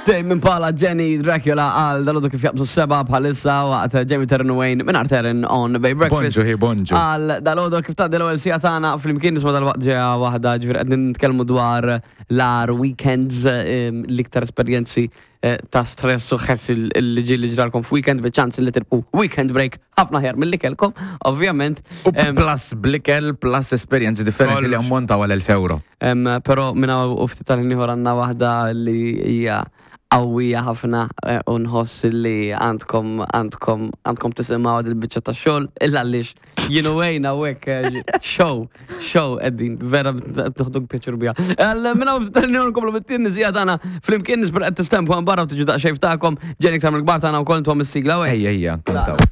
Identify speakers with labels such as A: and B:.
A: Tame Impala, Jenny Dracula għal dalodu kif jaqbżu seba bħalissa waqt Jamie Terren Wayne minn Terren on Bay Breakfast.
B: Bonġu, hi, bonġu.
A: Għal dalodu kif tgħaddi l-ewwel sija tagħna flimkien nisma' dal-waqt ġeja waħda ġifieri qed nitkellmu dwar l-agħar weekends, l-iktar esperjenzi ta' stress u ħess li ġieli ġralkom f'weekend biċ-ċans li tirbħu weekend break ħafna aħjar milli kellkom, ovvjament.
B: U plus blikel, plus esperjenzi differenti li ammontaw għal 1000 euro.
A: Però minn hawn u ftit tal-ħin ieħor għandna waħda li hija qawwija ħafna u nħoss li għandkom għandkom għandkom tisimgħu dil-biċċa ta' xogħol illa għaliex Jien u Wayne hawnhekk show, show qegħdin, vera toħduk pjaċir biha. Minn hawn ftit tal-ħin nkomplu bit-tieni siegħa tagħna flimkien nispera qed tistempu hemm barra u tiġu daqsxejn ftakom, ġejjin iktar mill-kbar tagħna wkoll intuhom is-sigla Wayne.
B: Ejja, ejja, kantaw.